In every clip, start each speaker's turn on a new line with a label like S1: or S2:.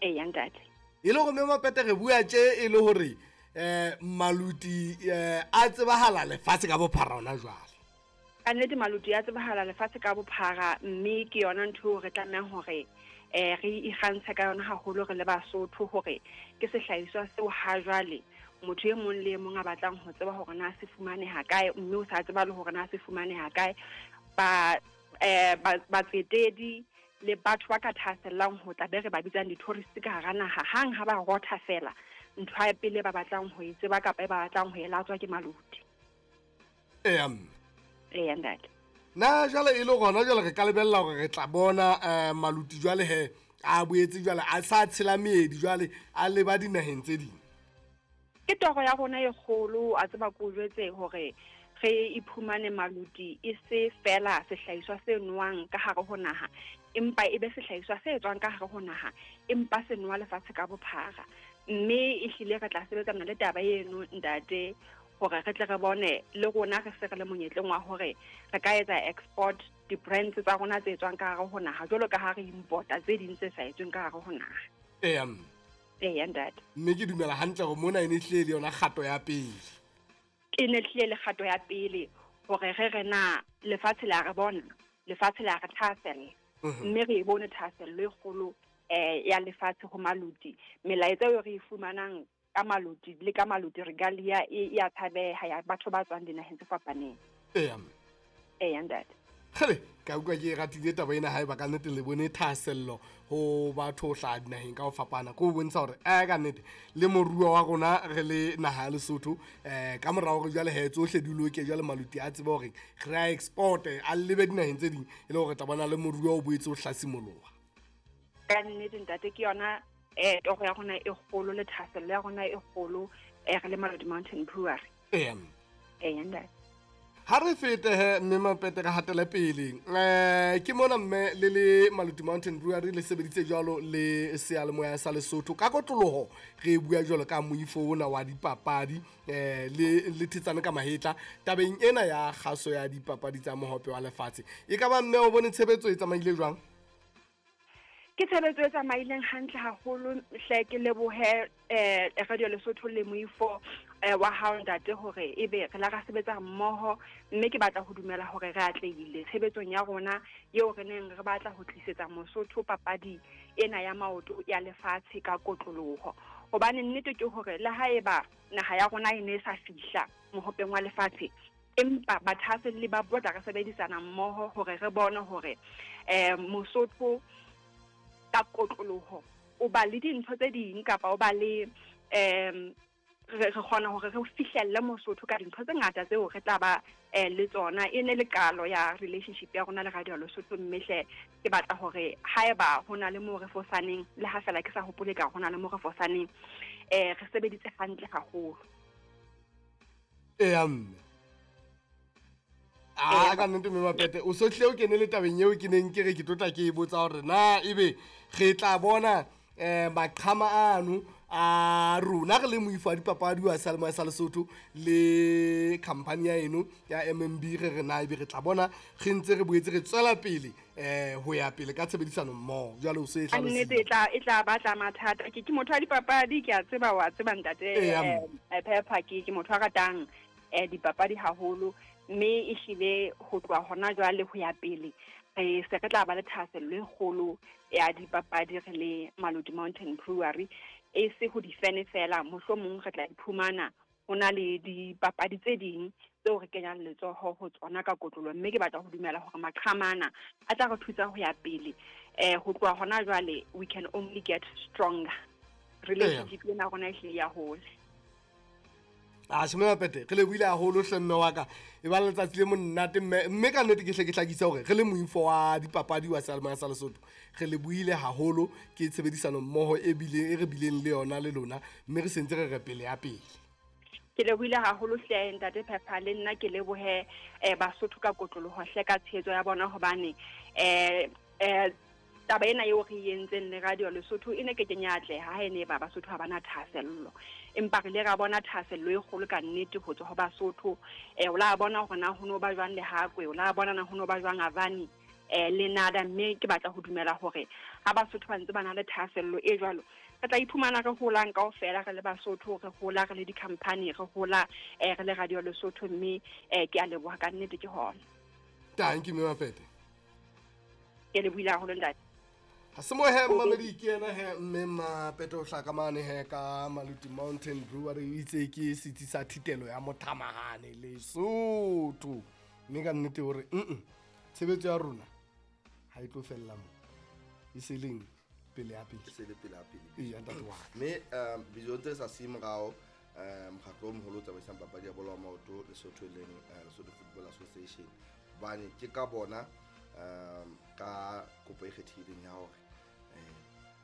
S1: Eya ntate.
S2: E le gore mme Mapete re bua tše e le gore um maluti um a tsebahala lefatshe ka bophara ona jwale.
S1: Ka nnete maluti a tsebahala lefatshe ka bophara, mme ke yona ntho eo re tlamehang hore um re ikgantshe ka yona haholo re le Basotho, hore ke sehlahiswa seo ha jwale motho e mong le e mong a batlang ho tseba hore na se fumaneha kae, mme o sa tseba le hore na se fumaneha kae. Ba batsetedi le batho ba ka thahasellang ho tla be re ba bitsang di-tourist ka hara naha, hang ha ba rotha fela, ntho ya pele ba batlang ho e tseba kapa e ba batlang ho e latswa ke maluti.
S2: Eya mme.
S1: Eya ntate.
S2: Na jwale e le gona jwale re ka lebella gore re tla bona um maluti jwale he a boetse jwale a sa tshela meedi jwale a leba dinaheng tse ding?
S1: Ke toro ya rona e kgolo, a tseba ko jwetse hore re iphumane maluti e se fela sehlahiswa se nwang ka hare ho naha, empa e be sehlahiswa se tswang ka hare ho naha, empa se nowa lefatshe ka bophara. Mme ehlile re tla sebetsana le taba eno ntate, hore re tle re bone le rona re se re le monyetleng wa hore re ka etsa export di-brands tsa rona tse tswang ka hare ho naha, jwalo ka ha re importa tse ding tse sa etsweng ka hare ho naha.
S2: Eya mme.
S1: Eya ntate.
S2: Mme ke dumela hantle gore mona e ne hlile le yona kgato ya pele.
S1: E ne hlile le kgato ya pele hore re re na lefatshe le a re bona, lefatshe le a re thahasella. Mme re e bone thahasello e kgolo ya lefatshe ho maluti. Melaetsa eo re e fumanang ka maluti le ka maluti regalia e ya tshabeha ya batho ba tswang dinaheng tse fapaneng.
S2: Eya mme.
S1: Eya ntate.
S2: Kgele, ka utlwa ke e ratile taba ena haeba ka nnete le bone thahasello ho batho ho hlaha dinaheng ka ho fapana. Ke ho bontsha hore ka nnete le moruo wa rona re le naha ya Lesotho ka mora hore jwale he tsohle di loke, jwale maluti a tsebe hore re a export a lebe dinaheng tse ding, e le hore tla bona le moruo o boetse o hlasimoloha.
S1: Ka nnete ntate, ke yona toro ya rona e kgolo le thahasello ya rona e kgolo re le Maluti Mountain Brewery.
S2: Eya mme.
S1: Eya ntate.
S2: Ha re fete he mme Mapete re hatele pele. Ke mona mme le le Maluti Mountain Brewery le sebeditse jwalo le seyalemoya sa Lesotho ka kotloloho, re bua jwalo ka moifo ona wa dipapadi le thetsane ka mahetla tabeng ena ya kgaso ya dipapadi tsa mohope wa lefatshe. E ka ba mme o bone tshebetso e tsamaile jwang?
S1: Ke tshebetso e tsamaileng hantle haholo hle, ke lebohe Radio Lesotho le moifo wa hao ntate, hore ebe re la ra sebetsa mmoho, mme ke batla ho dumela hore re atlehile tshebetsong ya rona eo re neng re batla ho tlisetsa Mosotho papadi ena ya maoto ya lefatshe ka kotloloho. Hobane nnete ke hore le haeba naha ya rona e ne e sa fihla mohopeng wa lefatshe, empa bathahaselli ba botla re sebedisana mmoho hore re bone hore Mosotho ka kotloloho o ba le dintho tse ding, kapa o ba le re kgona hore re fihlelle Mosotho ka dintho tse ngata tseo re tla ba le tsona. E ne le qalo ya relationship ya rona le Radio Lesotho, mme hle ke batla hore haeba ho na le moo re fosaneng, le ha fela ke sa hopole ka ho na le moo re fosaneng, re sebeditse hantle haholo.
S2: Eya mme. A ka nnete mme Mapete o sohle o kene le tabeng eo ke neng ke re ke tlotla ke e botsa hore na ebe re tla bona maqhama ano a rona re le moifo wa dipapadi wa seyalemoya sa Lesotho le company ya eno ya MMB, re re na ebe re tla bona re ntse re boetse re tswela pele ho ya pele ka tshebedisano mmoho jwale o se e
S1: hlalositse. Nnete e tla batla mathata. Ke motho wa dipapadi, ke a tseba, wa tseba ntate Phepha, ke motho a ratang dipapadi haholo, mme ehlile ho tloha hona jwale ho ya pele re se re tla ba le thahasello e kgolo ya dipapadi re le Maluti Mountain Brewery, e se ho difene fela, mohlomong re tla iphumana ho na le dipapadi tse ding tseo re kenyang letsoho ho tsona ka kotlolo. Mme ke batla ho dumela hore maqhamana a tla re thusa ho ya pele. Ho tloha hona jwale we can only get stronger. Relationship ena rona ehlile ya hole.
S2: A sheme Mapete, re lebohile haholo hle mme wa ka. E ba letsatsi le monate mme, mme ka nnete ke hle ke hlakisa hore re le moifo wa dipapadi wa seyalemoya sa Lesotho, re lebohile haholo ke tshebedisano mmoho e bile e re bileng le yona le lona, mme re sentse re re pele ya pele.
S1: Ke lebohile haholo hle ntate Phepha, le nna ke lebohe Basotho ka kotloloho hle ka tshehetso ya bona, hobane taba ena eo re entseng le Radio Lesotho e ne ke kenya atleha ha e ne ba Basotho ha bana thahasello, empa re ile ra bona thahasello e kgolo ka nnete ho tswa ho Basotho. O la bona hore na ho no ba jwang Lehakwe, o la bona na ho no ba jwang Avani. le NADA, mme ke batla ho dumela hore ha Basotho ba ntse ba na le thahasello e jwalo, re tla iphumana re holang kaofela re le Basotho, re hola re le di-company, re hola re le Radio Lesotho, mme ke a leboha ka nnete ke hona.
S2: Thank you, Mme Mapete.
S1: Ke lebohile haholo ntate.
S2: Ha se mo he mmamedi ke yena he mme Mapete o hlaka mane he ka Maluti Mountain Brewery, o itse ke setsi sa thitelo ya mothamahane Lesotho. Mme ka nnete hore tshebetso ya rona ha e tlo fella mo. E se leng pele ya pele.
S3: E se le pele ya pele.
S2: Ee, ntate wa ka.
S3: Mme Bizo ntse re sa siye morao, mokgatlo o moholo o tsamaisang papadi ya bolo ya maoto Lesotho e leng Lesotho Football Association. Hobane ke ka bona ka kopo e kgethehileng ya hore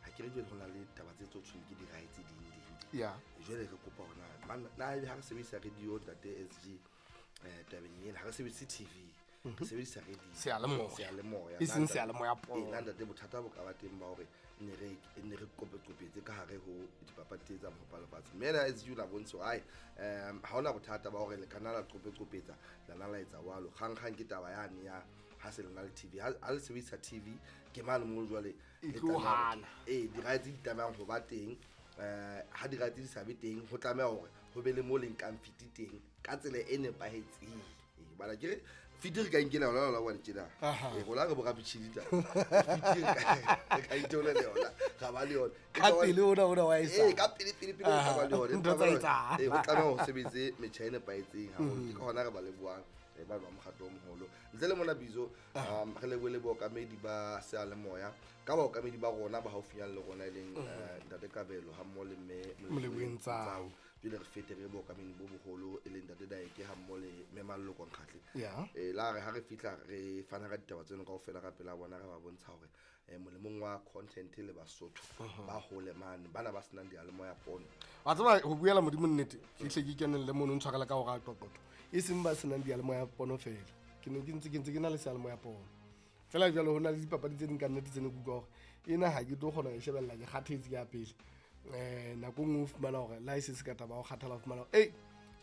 S3: ha ke re jwale ho na le taba tse tso tshweng ke di-rights ding ding. Jwale re kopa hore na ebe ha re sebedisa radio ntate SG tabeng ena, ha re sebedise TV, re sebedisa radio.
S2: Seyalemoya.
S3: Seyalemoya.
S2: E seng seyalemoya pono.
S3: Ee, na ntate bothata bo ka ba teng ba hore ne re qophe-qophetse ka hare ho dipapadi tse tsa mohope wa lefatshe. Mme ena SG o la bontsha hore, ai, ha hona bothata ba hore le ka nna la qophe-qophetsa, la nna la etsa jwalo. Kgang-kgang ke taba yane ya ha se le na le TV. Ha le sebedisa TV, ke mane moo jwale
S2: E
S3: le
S2: tlo
S3: tlameha hore
S2: hana.
S3: Ee, di-rights di tlamehang ho ba teng. Ha di-rights di sa be teng, ho tlameha hore ho be le moo le nkang fiti teng ka tsela e nepahetseng. Ee, bana ke re fiti re ka inkela yona lona bone tjena. Ee, rona re bo rapitjhini taba. Fiti re ka itheolela yona, ra ba le yona.
S2: Ka pele ona wa e sa.
S3: Ee, ka pele, pele, pele re ka ba le yona.
S2: Ntho tsa etsahala.
S3: Ee, ho tlameha ho sebetse metjha e nepahetseng haholo. Ke ka hona re ba lebohang ba ba mokgatlo o moholo. Ntle le mona Bizo, re lebohe le baokamedi ba seyalemoya, ka baokamedi ba rona ba haufinyane le rona e leng, Ntate Kabelo ha mmoho le Mme
S2: Moleboheng Tsau.
S3: Tsau. Jwale re fete re baokamedi bo boholo e leng Ntate Daeke ha mmoho le Mme Maloko Nkgatle. La re ha re fihla re fana ka ditaba tseno kaofela ka pela bona, re ba bontsha hore molemong wa content le Basotho ba hole mane, bana ba senang diyalemoya pono.
S2: Wa tseba ho buela Modimo nnete, ke hle ke kenelle mono, ntshwarele ka hore a qoqotho. E seng ba senang diyalemoya pono fela. Ke ne ke ntse ke ntse ke na le seyalemoya pono. Fela jwale ho na le dipapadi tse ding ka nnete tse ne ke utlwa hore ena ha ke tlo kgona ho e shebella, ke kgathetse ke ya pele. Nako e nngwe o fumana hore le ha e se se ka taba ya ho kgathala, o fumana hore, ei,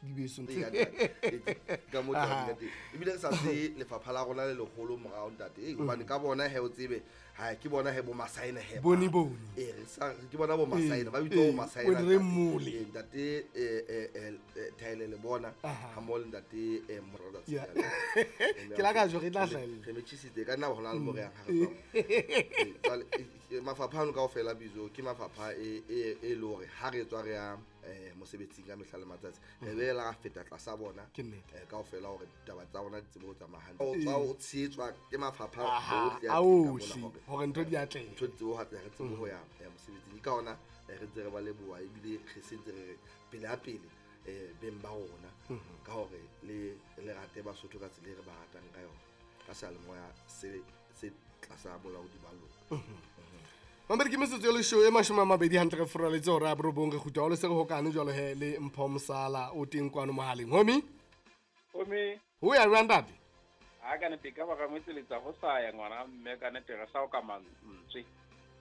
S2: di beso ntho.
S3: Ee, ntate. Ee, ka moo taba di ka teng. Ebile re sa tsebe lefapha la rona le leholo morao, ntate. Ee, hobane ka bona he o tsebe, ha ke bona he bo Masaena he ba.
S2: Bone, bone.
S3: Ee, re sa, ke bona bo Masaena, ba
S2: Ee,
S3: bitswa bo
S2: ee,
S3: Masaena,
S2: o re
S3: ntate.
S2: mole.
S3: Ee, ntate, Thaele le bona, ha mmoho le ntate, Morada
S2: Ya.
S3: Tshiala. Ee,
S2: Ke la ka jo, re tla hlahella.
S3: Re metjhisitse, ka nna hona le mo re yang ha re tswa mo. Ee, jwale, mafapha ano kaofela Bizo, ke mafapha e le hore ha re tswa re ya, mosebetsing ka mehla le matsatsi, re be la feta tlasa bona,
S2: Ke nnete.
S3: kaofela hore ditaba tsa rona di tsebe ho tsamaya hantle. O tswa o tshehetswa ke mafapha ohle a
S2: A
S3: teng ka mona
S2: ohle,
S3: hore
S2: hore ntho di atlehe.
S3: Ntho di tsebe ho atleha, re tsebe ho ya, mosebetsing. Ke ka hona, re ntse re ba leboha, ebile re sentse re re pele ha pele, beng ba rona, ka hore le rate Basotho ka tsela e re ba ratang ka yona, ka seyalemoya se tlasa bolaodi ba lona.
S2: Mamedi ke metsotso e leshome e mashome a mabedi hantle re furaletse hora ya borobong, re kgutla holo se re hokane jwalo he le Mpho Mosala o teng kwano mohaleng. Homie?
S4: Homie.
S2: Ho ya jwang ntate?
S4: Ha ka nete ka ba ka motseletsa ho sa ya ngwana mme ka nete re sa o ka mantswe.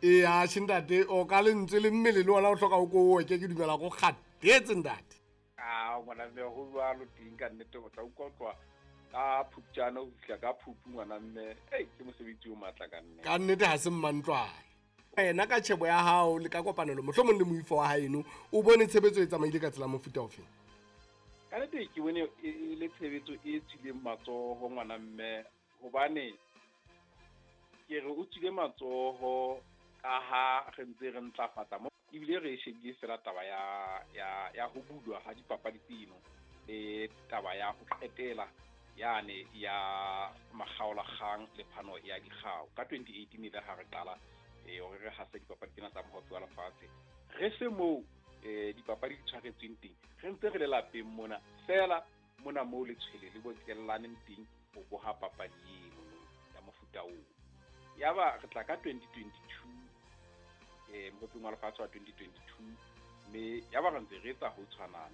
S2: Ee, atjhe ntate, o ka lentswe le mmele le ona o hloka o ko oke, ke dumela go kgathetse ntate.
S4: A ngwana mme ho jwalo teng ka nnete ho tla utlwa tloha ka Phupjane ho fihla ka Phupu ngwana mme, ei, ke mosebetsi o matla ka nnete.
S2: Ka nnete ha se mmantlwane. Wena ka tjhebo ya hao le ka kopanelo mohlomong le moifo wa haeno, o bone tshebetso e tsamaile ka tsela mofuta ofe?
S4: Ka nnete ke bone e le tshebetso e tswileng matsoho ngwana mme, hobane ke re o tswile matsoho ka ha re ntse re ntlafatsa mo, ebile re e shebile fela taba ya ho bulwa ha dipapadi tseno le taba ya ho qetela yane ya makgaolakgang le phano ya dikgao. Ka 2018 ile ha re qala, hore re hase dipapadi tsena tsa mohope wa lefatshe, re se moo, dipapadi di tshwaretsweng teng, re ntse re le lapeng mona fela, mona moo letshwele le bokellaneng teng ho boha papadi eno ya mofuta oo. Yaba re tla ka 2022, mohopeng wa lefatshe wa 2022, mme yaba re ntse re etsa ho tshwanang.